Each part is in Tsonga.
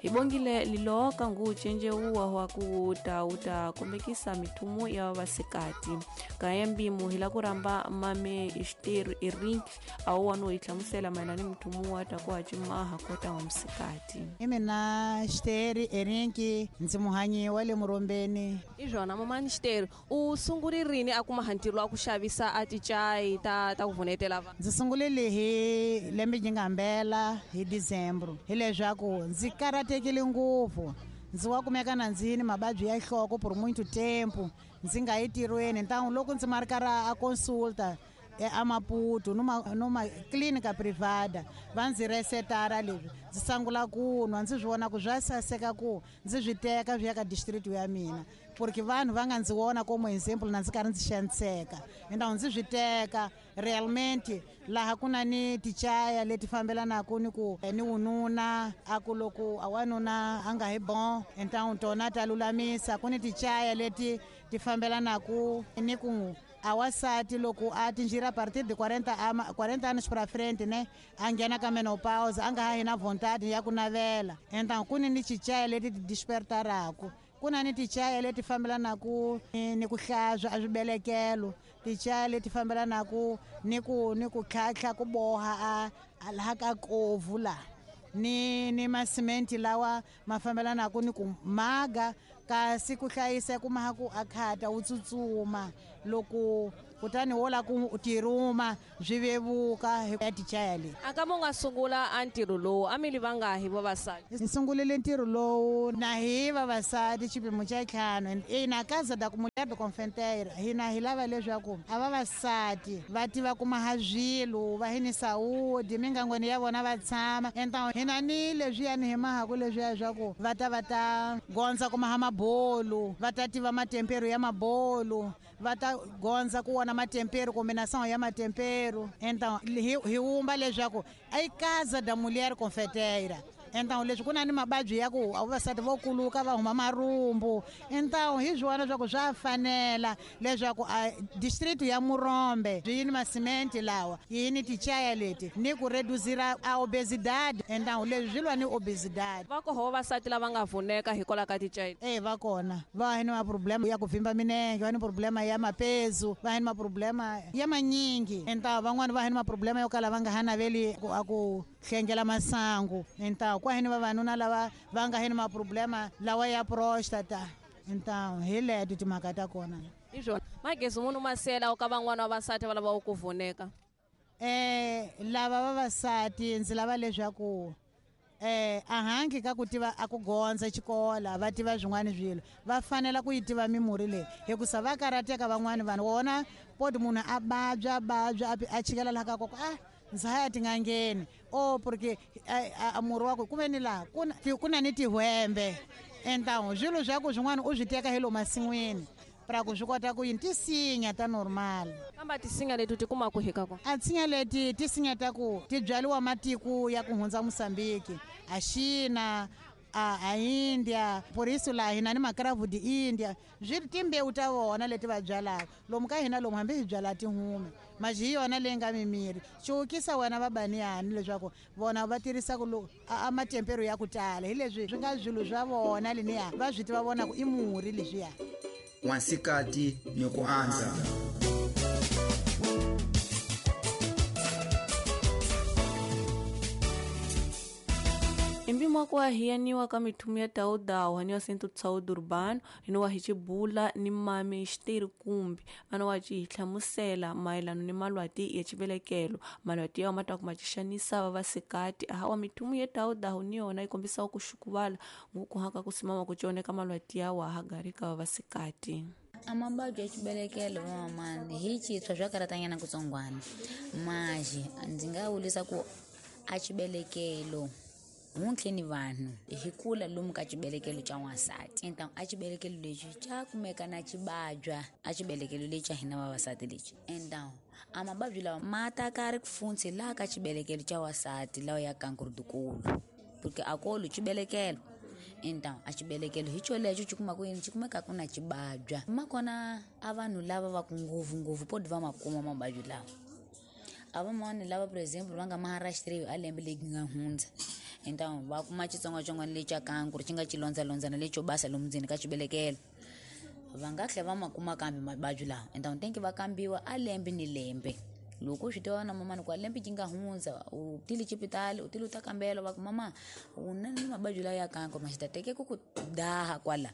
Hi bongile liloka ngu cenjeuwa wa ku ta wu ta kombekisa mithumo ya vavasikati. Kaya mbimu hi la ku rhamba mame Ixiteru Erink a wu no hi hlamusela mayelana ni mithumo wa ta ku hacimaha kota wa musikati. I mina Xiteri Erinki, ndzi muhanyi wa le Murombeni. I swona mamani Xiteri, u sungule rini a kuma ntirho wa ku xavisa a ticayi ta ku vunetela vanhu? Ndzi sungulile hi lembe yi nga hambela hi December, hileswaku ndzi karhatekile ngopfu. Ndzi wa kumeka na ndzi ni mavabyi ya nhloko por muito tempo, ndzi nga yi tirhweni. Ntangu loko ndzi marikara a consulta a Maputo numa clinica privada, va ndzi resetara leswi ndzi sungula ku nwa, ndzi swi vona ku swa saseka ku ndzi swi teka swi ya ka district ya mina, porque vanhu va nga ndzi vona como example na ndzi karhi ndzi xaniseka. Então ndzi swi teka realmente laha ku na ni tichaya leti fambelanaka ni ku ni wununa, a ku loko a wanuna a nga hi bon, então tona ta lulamisa. Ku ni tichaya leti ti fambelanaka ni ku a wasati loko a tinjira a partir de 40 anos pra frente, né, a nghena ka menopause, a nga ha hi na vontade ya ku navela. Então ku ni ni tichaya leti ti despertaraka, ku na ni tichaya leti fambelanaka ni ku hlantswa a swibelekelo, tichaya leti fambelanaka ni ku tlhatlha ku boha a laha ka kovu la, ni masimenti lawa ma fambelanaka ni ku maga, kasi ku hlayisa ku maha ku a khata wu tsutsuma loko kutani wo la ku tirhuma swi vevuka hi ya tichaya leyi. A ka mo nga sungula a ntirho lowu a mi li vangahi vavasati? Hi sungulile ntirho lowu na hi vavasati xipimo xa ntlhanu. Ina Casa da Mulher do Confeiteira, hina hi lava leswaku a vavasati va tiva ku maha swilo, va hi ni saúde mingangweni ya vona va tshama. Então hina ni leswiyani hi mahaku leswiya swa ku va ta va ta gondza ku maha mabolo, va ta tiva matempero ya mabolo, va ta gondza ku vona matempero, combinação ya matempero. Então hi wumba leswaku i Casa da Mulher Confeiteira. Então leswi ku na ni mavabyi ya ku vavasati vo kuluka va huma marhumbu. Então hi swona swa ku swa fanela leswaku a district ya Murombe yi ni masimenti lawa, yi ni tichaya leti ni ku reducira a obesidade. Então leswi swi lwa ni obesidade. Va koho vavasati lava nga vuneka hikwalaho ka tichaya? Eh, va kona. Va ni maproblema ya ku vimba minenge, va ni problema ya mapezu, va ni maproblema ya manyingi. Então van'wani va ni maproblema yo kala va nga ha naveli ku a ku hlengela masangu. Então ku hini vavanuna lava va nga hini maproblema lawa ya prostata. Então hi leto timhaka ta kona. Hi swona. Magezi munhu masela ka van'wana va vavasati va lava ku vuneka. Lava vavasati ndzi lava leswaku a hangi ka ku tiva a ku gondza xikola, va tiva swin'wana swilo, va fanela ku yi tiva mimurhi leyi, hikusa va karhateka van'wani vanhu. Wona poti munhu a vabya, vabya, a chikela laha ka koko, a ndzi ha ya tin'angeni. Oh, porque a murhi wa ku ku ve ni laha ku na ni tihwembe. Então swilo swa ku swin'wana u swi teka hi lomu masin'wini pra ku swi kota ku yini, tisinya ta normal. Kambe tisinya leti ti kuma ku hika kona? A tisinya leti tisinya ta ku ti byariwa matiko ya ku hundza Mozambique, a China, a India, por isso laha hina ni makravu di India, swi timbewu ta vona leti va byalaka. Lomu ka hina lomu hambi hi byala tihume, mas hi yona leyi nga mimiri. Cuwukisa wena vabaniyani leswaku vona va tirhisa ku a matempero ya ku tala, hi leswi swi nga swilo swa vona leniya va swi tiva vona ku i murhi leswiya. N'wansikati ni ku andza. Impimo wa ku ahiyaniwa ka mithumu ya tawudawu haniwa Centro de Saúde Urbano, hiniwa hi xibula ni mami Xiteri Kumbi, ana wa ci hi hlamusela mayelana ni malwati ya xivelekelo. Malwati ya ma ta kuma ci xanisa vavasikati. Hawa mithumu ya tawudawu ni yona yi kombisa ku xukuvala nguku haka ku simama ku cioneka malwati ya wa ha gari ka vavasikati. A mavabyi ya xibelekelo van'wamani hi tshitshwa swa karatanyana kutsongwana. Maji ndzi nga vurisa ku a xibelekelo huntlhe ni vanhu hi kula lomu ka xibelekelo xa n'wansati. Então a xibelekelo lexi xa kumeka na xibabya a xibelekelo lexi xa hina vavasati lexi. Então a mavabyi lawa ma ta ka ri kufuntsi laha ka xibelekelo xa wansati lawa ya kankurudukulu, porque a kolu xibelekelo. Então a xibelekelo hi xolexo xi kuma ku yini, xi kumeka ku na xibabya. Makona a vanhu lava va ku ngopfungopfu poti va ma kuma mavabyi lawa. A vamamani lava, por exemplo, va nga maharashtriwi a lembe leyi nga hundza, então va kuma xitsongwatsongwana lexi xa kankuru xi nga xilondzalondzana lexo basa lomu ndzeni ka xibelekelo, va nga tlhela va ma kuma kambe mavabyi lawa. Então tenke va kambiwa a lembe ni lembe. Loko u swi tiva na mamani ku a lembe yi nga hundza u tile xipitali, u tile u ta kambela, va ku mama u na ni mavabyi lawa ya kankuru, ma xi ta teke ku ku daha kwala.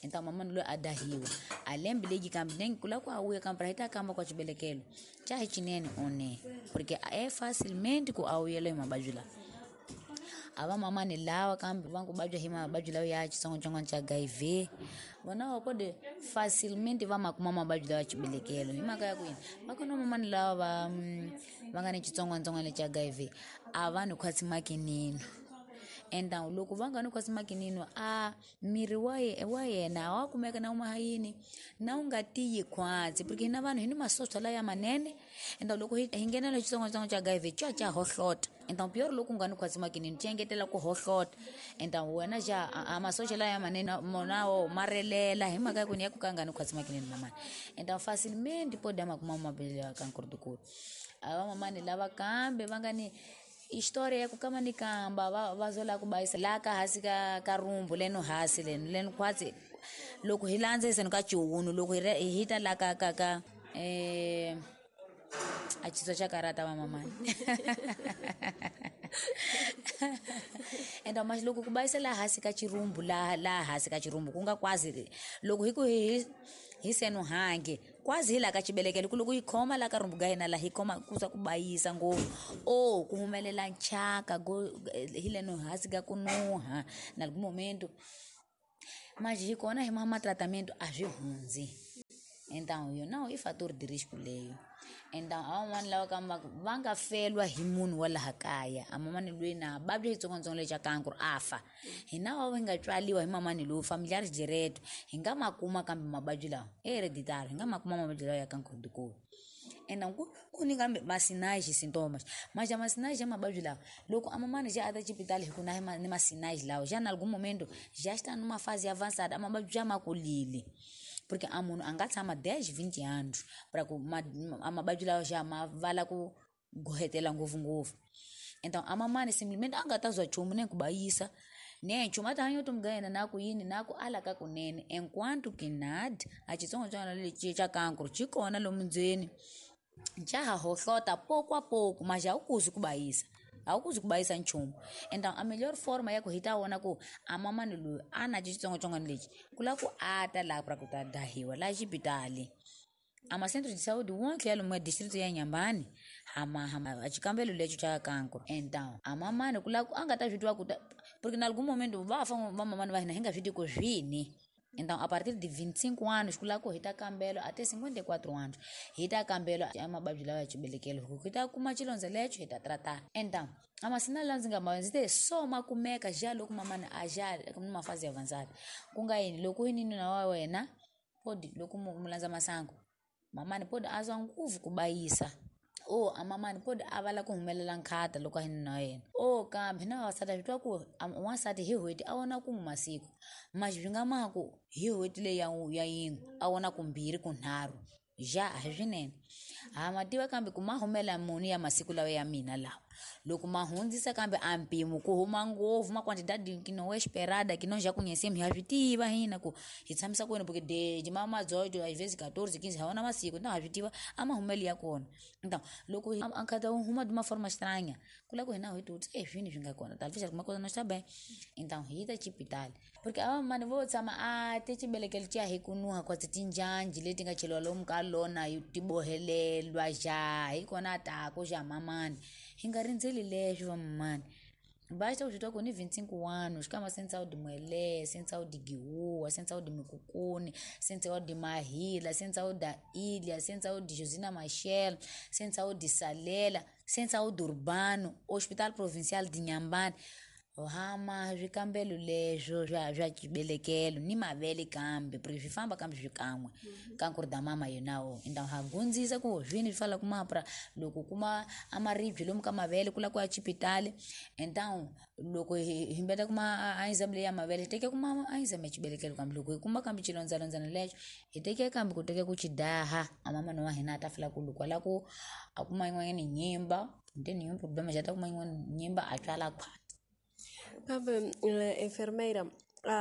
Então mamani loyi a dahiwa a lembe leyi kambe nenge ku lava ku a vuya kambe hi ta kamba kwa xibelekelo xa hi xinene one, porque é facilmente ku a vuyela hi mavabyi lawa. A va mamani lawa kambe va ku vabya hi mavabyi lawa ya xitsongwatsongwana xa HIV, vona va pode facilmente va ma kuma mavabyi lawa ya xibelekelo. Hi mhaka ya ku yini? Va kona mamani lava va nga ni xitsongwatsongwana xa HIV a va ni khwatsi makinino. Então loko va nga ni khwatsi makinino, a miri wa yena wa kumeka na uma yini na wu nga tiyi khwatsi, porque hina vanhu hi ni masocha laya manene. Então loko hi nghenela xitsongwatsongwana xa HIV xa xa hohlota. Então pior loko u nga ni khwatsi makinino xi engetela ku hohlota. Então wena xa a masocha laya manene mona wo ma relela hi mhaka ya ku ni ya ku ka nga ni khwatsi makinino mamani. Então facilmente pode ma kuma mavabyi ya kankuru dikulu. A va mamani lava kambe va nga ni história ya ku kama ni kamba va zola ku bayisa la ka hasi ka rumbu leno hasi leno leno khwatsi loko hi landza iseno ka chiwunu loko hi ta la ka ka ka a xitswa xa karata va mamani. Enda mas loko ku bayisa la hasi ka chirumbu la hasi ka chirumbu ku nga kwazi loko hi ku hi seno hange kwazi hi la ka xibelekelo ku loko yi khoma la ka rumbu ga hina la hi khoma ku sa ku bayisa ngopfu o ku humelela nchaka go hi leno hasi ka ku nuha na algum momento mas hi kona hi ma tratamento a swi hundzi. Então yo não i fator de risco leyo. Então a van'wana lava kamba va nga felwa hi munhu wa laha kaya, a mamani loyi na vabya xitsongwatsongwana lexi xa kankuru a fa, hina va hi nga tswaliwa hi mamani lowu familiares direto hi nga ma kuma kambe mavabyi lawa hereditary hi nga ma kuma mavabyi lawa ya kankuru dikulu. Então ku ni kambe masinais sintomas, mas a masinais ya mavabyi lawa loko a mamani já a ta xipitali hi ku na ni masinais lawa já na algum momento já está numa fase avançada a mavabyi já ma kulile. Porque a munhu a nga tshama 10 20 anos para ku a mavabyi lawa já ma vala ku gohetela ngopfungopfu. Então a mamani simplesmente a nga ta zwa nchumu ne ku bayisa ne nchumu a ta hanya vutomi bya yena na ku yini na ku ala ka kunene, enquanto que nada a xitsongwatsongwana lexi xa kankuru xi kona lomu ndzeni xa ha hohlota pouco a pouco, mas a wu kuzi ku bayisa, a wu kuzi ku bayisa nchumu. Então a melhor forma ya ku hi ta vona ku a mamani loyi a na xitsongwatsongwana lexi ku lava ku a ta laha pra ku ta dahiwa laha xipitali. A ma centro de saúde wonke ya lomu ya distrito ya Inhambane hama hama xikambelo lexi xa kankuru. Então a mamani ku lava ku a nga ta swi tiva ku ta, porque na algum momento va fa va mamani va hina hi nga swi tivi ku swini. Então a partir de 25 anos ku lava ku hi ta kambelo até 54 anos hi ta kambelo a mavabyi lawa ya xibelekelo ku hi ta kuma xilondza lexo hi ta tratar. Então a masinal lawa ndzi nga ma ndzi te so ma kumeka já loko mamani a já numa fase avançada ku nga yini loko yi ni nuna wa wena pode loko mu landza masangu mamani pode a zwa nguvu ku bayisa o a mamani pode a vala ku humelela nkhata loko a hi nuna wa yena o kambe na vavasati swi twa ku wansati hi n'hweti a vona kun'we masiku mas swi nga ma ku hi n'hweti leyi ya yin'we a vona kumbirhi kunharhu ja a hi swinene. Ha ma tiva kambe ku ma humela muni ya masiku lawa ya mina lawa loko ma hundzisa kambe a mpimo ku huma ngopfu ma quantidade que não é esperada que nós já conhecemos, ha swi tiva hina ku hi tshamisa ku yini porque de ma 18 às vezes 14 15 ha wona masiku, então ha swi tiva a mahumelo ya kona. Então loko a nkhata wu huma de uma forma estranha ku lava ku hina hi ti e swini swi nga kona talvez alguma coisa não está bem, então hi ta xipitali porque a vamani vo tshama a ti xibelekelo xa hi ku nuha kwatsi tinjanji leti nga cheliwa lomu ka lona yi ti bohelelwa ja hi kona taku xa mamani hi nga rindzeli leswo va mamani. Basta u swi twa ku ni 25 anos xikamba sem saúde Muelé, sem saúde Guiúa, sem saúde Micocune, sem saúde Mahila, sem saúde da Ilha, sem saúde Josina Machel, sem saúde Salela, sem saúde Urbano, Hospital Provincial de Inhambane. Hama swikambelo leswo swa xibelekelo ni mavele kambe porque swi famba kambe swikan'we kankuru da mama yonawo então ha gundzisa ku zvini swi fala kumapra loko kuma a maribye lomu ka mavele ku la ku ya xipitali então loko hi mbeta kuma a exame leyi ya mavele hi teke kuma a exame ya xibelekelo kambe loko hi kuma kambe xilondzalondzana lexo hi teke kambe ku teke ku xi daha a mamana wa hina a ta fila ku loko a la ku a kuma yin'wanyana nyimba then nenhum problema já ta kuma yin'wana nyimba a tswala khwati. Kambe enfermeira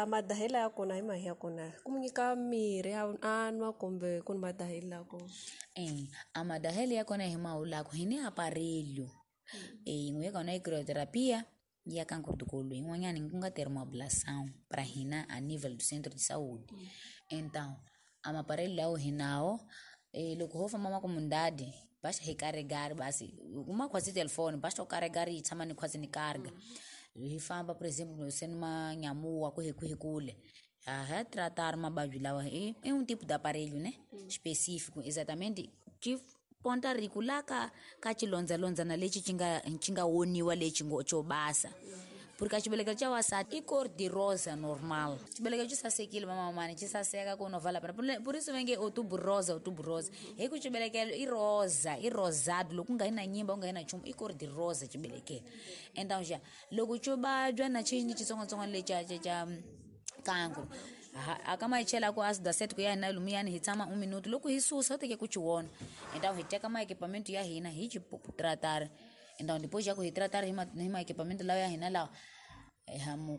madahela ya kona hi mahi ya kona ku mu nyika mirhi a nwa kumbe ku ni madahelo ya kona? A madahelo ya kona hi mahulako hi ni aparelho yin'we ya kona i crioterapia ya cancro do colo yin'wanyana ku nga termoablação para hina a nível do centro de saúde. Então a maparelho lawo hi nawo loko ho famba makumundadi basta hi carregar basi kuma khwatsi telefone basta u carregar yi tshama ni khwatsi ni carga. Hi famba por exemplo se ni manyamuwa ku hi kule ha tratar mababyi lawa i um tipo de aparelho né específico exatamente que ponta riku la ka xilondzalondzana lexi xi nga woniwa lexi xo basa porque a xibelekelo xa wansati i cor de rosa normal. Xibelekelo xi sasekile vamamani xi saseka ku no vala por isso va nge outubro rosa hi ku xibelekelo i rosa i rosado loko ku nga yi na nyimba ku nga yi na nchumu i cor de rosa xibelekelo. Então xa loko xo vabya na xi ni xitsongwatsongwana lexa xa cancro a ka ma hi chela ku ácido acético ya hina lumiyani hi tshama 1 minuto loko hi susa u teke ku xi vona. Então hi teka ma-equipamento ya hina hi xi tratar. Então depois já ku hi tratar hi ma-equipamento lawa ya hina lawa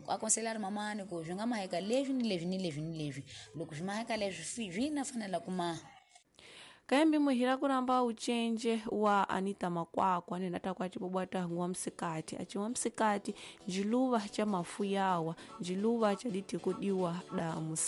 aconselhar mamani ku swi nga maheka leswi ni leswi ni leswi ni leswi loko swi maheka leswi swi na fanela kuma. Kayembe muhira kuramba uchenje wa Anita Makwakwa nena takwa chibobwata wa msikati achiwa msikati njiluva cha mafu yawa njiluva cha ditikudiwa da